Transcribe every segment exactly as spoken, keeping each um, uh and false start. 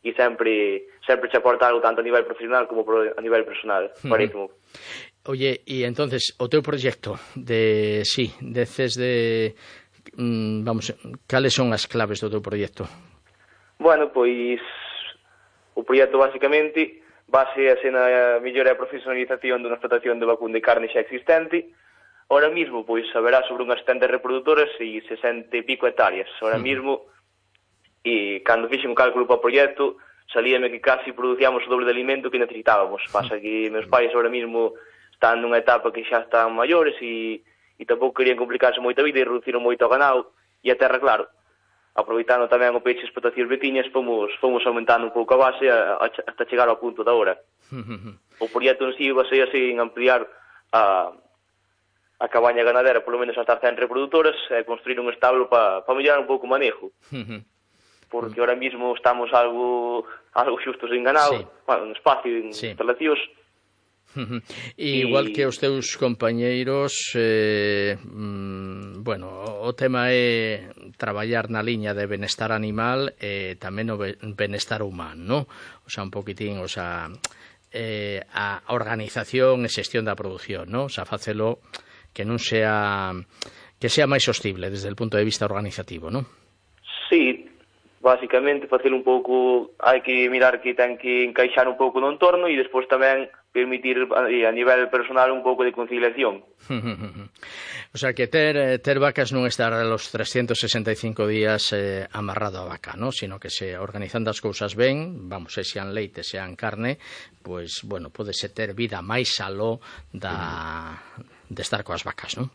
e sempre sempre che aporta algo tanto a nivel profesional como a nivel personal, parísimo. Oye, e entonces, o teu proxecto de, sí, deces de, mm, vamos, cales son as claves do teu proxecto? Bueno, pois, o proxecto basicamente basease na mellora e profesionalización dunha explotación de vacún de carne xa existente. Ahora mismo, pois, haberá sobre unhas setenta reproductoras e sesenta e pico hectáreas. Ahora mismo, e cando fixen o cálculo para o proxecto, salíame que casi producíamos o doble de alimento que necesitábamos. Pasa que meus pais ahora mismo están nunha etapa que xa están maiores e, e tampouco querían complicarse moito a vida e reduciron moito o ganado e a terra, claro, aproveitando tamén o peixe e explotacións veciñas, fomos, fomos aumentando un pouco a base a, a, hasta chegar ao punto da hora. O proxecto en sí basease en ampliar a, a cabaña ganadera polo menos hasta cen reproductoras e construir un establo para pa mellorar un pouco o manejo. Porque ahora mismo estamos algo algo xustos en ganado, sí. Bueno, en espacio, en sí. Instalacións. E igual que os teus compañeiros, eh, mm, bueno, o tema é traballar na liña de benestar animal e tamén o benestar humano, o sea, un poquitín, o sea, eh, a organización e xestión da produción, ¿no? O sea, facelo que non sea que sea máis sostible desde o punto de vista organizativo, ¿no? Sí, basicamente facelo un pouco, hai que mirar que ten que encaixar un pouco no entorno e despois tamén permitir a nivel personal un pouco de conciliación. O sea, que ter, ter vacas non estar los trescientos sesenta e cinco días eh, amarrado a vaca, ¿no? Sino que se organizando as cousas ben, vamos, se sean leite, sean carne, pues, bueno, podese ter vida máis aló da, de estar coas vacas, ¿no?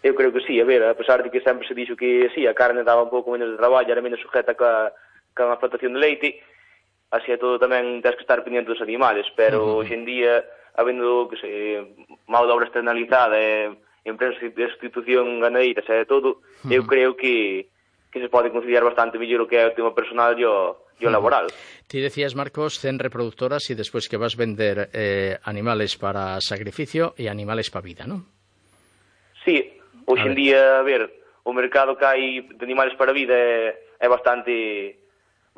Eu creo que sí, a ver, a pesar de que sempre se dixo que sí, a carne daba un pouco menos de traballo, era menos sujeta ca, ca unha explotación de leite, así é todo tamén tens que estar pendiente dos animales, pero uh-huh. hoxe en día, habendo, que se, mão de obra externalizada e empresas de sustitución ganadeira, e todo, uh-huh. eu creo que, que se pode conciliar bastante mellor o que é o tema personal e o, e o laboral. Ti decías, Marcos, cen reproductoras e despois que vas vender eh, animales para sacrificio e animales para vida, non? Sí, hoxe en día, a ver, o mercado que hai de animales para vida é, é bastante...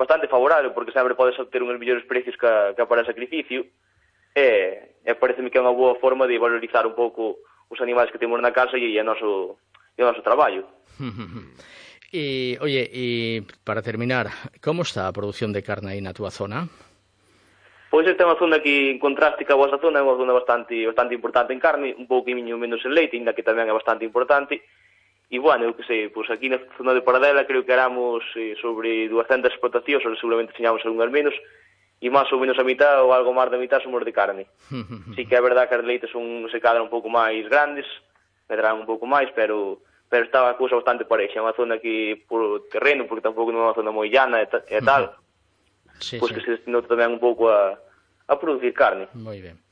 bastante favorable, porque sempre podes obter uns mellores precios que, que para o sacrificio, e, e pareceme que é unha boa forma de valorizar un pouco os animais que temos na casa e, e, o, noso, e o noso traballo. E, oye, e para terminar, como está a produción de carne aí na túa zona? Pois esta é unha zona que, en contraste ca vosa zona, é unha zona bastante, bastante importante en carne, un pouco menos en leite, ainda que tamén é bastante importante. E, bueno, eu que sei, pois aquí na zona de Paradela creo que éramos eh, sobre duascentas explotacións, ou seguramente teñamos algunhas menos, e máis ou menos a mitad ou algo máis da mitad somos de carne. Sí que é verdade que as de leite son, se cadran un pouco máis grandes, medrán un pouco máis, pero pero estaba a cousa bastante parexa. É unha zona que, por terreno, porque tampouco non é unha zona moi llana e, e tal, sí, pois sí. que se destinou tamén un pouco a, a producir carne. Moi ben.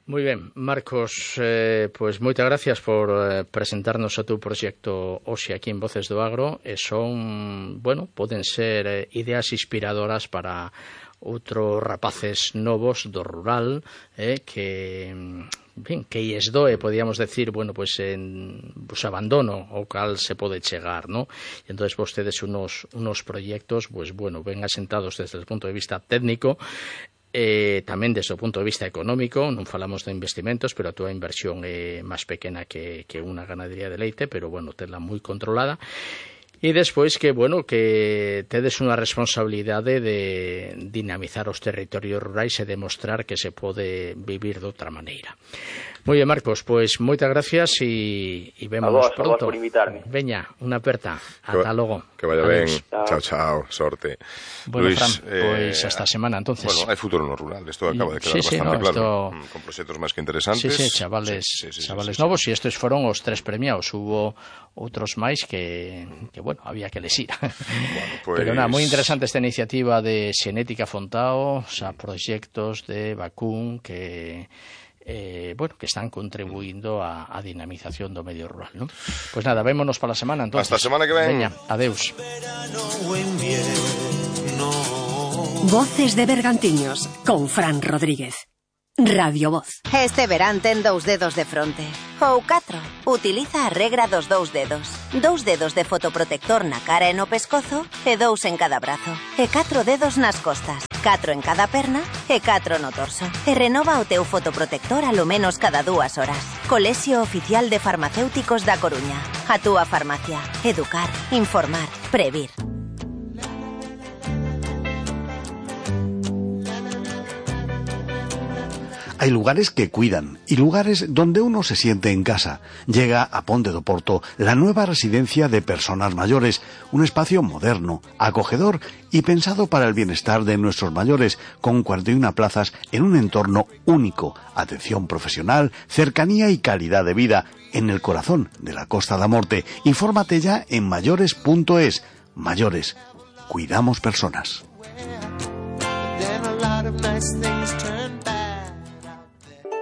Moi ben, Marcos, eh, pois moitas gracias por eh, presentarnos o teu proxecto hoxe aquí en Voces do Agro, e son, bueno, poden ser eh, ideas inspiradoras para outros rapaces novos do rural, eh, que, ben, que lles doe, podíamos decir, bueno, pois en pues, abandono ao cal se pode chegar, ¿no? E entón vostedes unos, unos proxectos, pues bueno, ben asentados desde o punto de vista técnico, Eh, tamén desde o punto de vista económico. Non falamos de investimentos, pero a túa inversión é máis pequena que, que unha ganadería de leite, pero bueno, tela moi controlada. E despois que, bueno, que tedes unha responsabilidade de dinamizar os territorios rurais e demostrar que se pode vivir de outra maneira. Moi ben, Marcos, pois moitas gracias e, e vemos a vos, pronto. A vos por invitarme. Veña, unha aperta. Ata logo. Que vaya ben. Chao, chao, sorte. Bueno, Luis, Fran, eh, pois esta semana, entonces. Bueno, hai futuro no rural, isto acaba de quedar sí, sí, bastante no, claro. Esto... Con proxectos máis que interesantes. Sí, sí, chavales, sí, sí, sí, chavales sí, sí, novos, sí. e estes foron os tres premiados. Hubo outros máis que, que bueno, había que lesir. Bueno, pues... Pero nada, moi interesante esta iniciativa de Xenética Fontao, o sea, proxectos de vacún que... Eh, bueno, que están contribuindo a, a dinamización do medio rural, ¿no? Pues nada, vémonos para la semana, entonces. Hasta a semana que ven. Veña, adeus. Voces de Bergantiños, con Fran Rodríguez. Radio Voz. Este verán ten dous dedos de fronte. Ou catro. Utiliza a regra dos dous dedos. Dous dedos de fotoprotector na cara e no pescozo e dous en cada brazo. E catro dedos nas costas. catro en cada perna e catro no torso. E renova o teu fotoprotector a lo menos cada dúas horas. Colexio Oficial de Farmacéuticos da Coruña. A túa farmacia. Educar, informar, previr. Hay lugares que cuidan y lugares donde uno se siente en casa. Llega a Ponte do Porto la nueva residencia de personas mayores, un espacio moderno, acogedor y pensado para el bienestar de nuestros mayores, con cuarenta y una plazas en un entorno único, atención profesional, cercanía y calidad de vida, en el corazón de la Costa da Morte. Infórmate ya en mayores punto es. Mayores, cuidamos personas.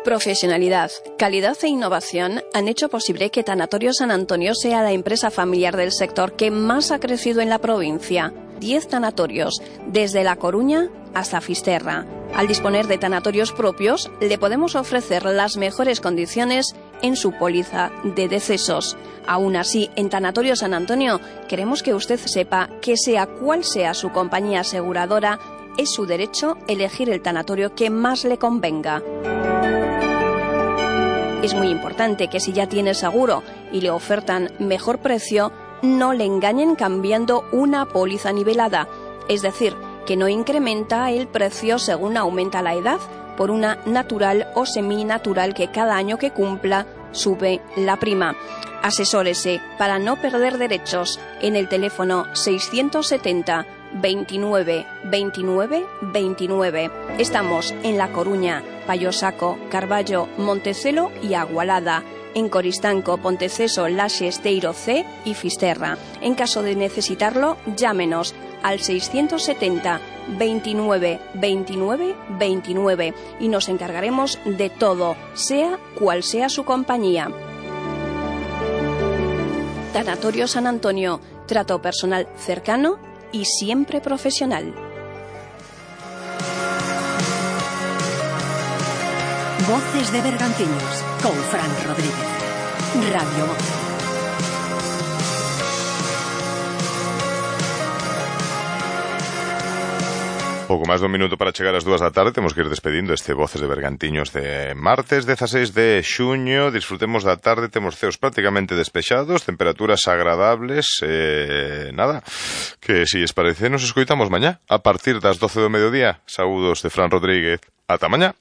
Profesionalidad, calidad e innovación han hecho posible que Tanatorio San Antonio sea la empresa familiar del sector que más ha crecido en la provincia. Diez tanatorios, desde La Coruña hasta Fisterra. Al disponer de tanatorios propios, le podemos ofrecer las mejores condiciones en su póliza de decesos. Aún así, en Tanatorio San Antonio, queremos que usted sepa que sea cual sea su compañía aseguradora, es su derecho elegir el tanatorio que más le convenga. Es muy importante que si ya tiene seguro y le ofertan mejor precio, no le engañen cambiando una póliza nivelada, es decir, que no incrementa el precio según aumenta la edad, por una natural o seminatural que cada año que cumpla sube la prima. Asesórese para no perder derechos en el teléfono seiscientos setenta veintinueve veintinueve veintinueve. Estamos en La Coruña, Payosaco, Carballo, Montecelo y Agualada. En Coristanco, Ponteceso, Laxe, Esteiro C y Fisterra. En caso de necesitarlo, llámenos al seiscientos setenta veintinueve veintinueve veintinueve y nos encargaremos de todo, sea cual sea su compañía. Tanatorio San Antonio, trato personal cercano y siempre profesional. Voces de Bergantiños con Fran Rodríguez. Radio Voz. Pouco máis dun minuto para chegar ás dúas da tarde. Temos que ir despedindo este Voces de Bergantiños de martes dezaseis de xuño. Disfrutemos da tarde, temos ceos prácticamente despexados, temperaturas agradables. eh, Nada, que si es parece nos escoitamos mañá a partir das doce do mediodía. Saúdos de Fran Rodríguez. Ata mañá.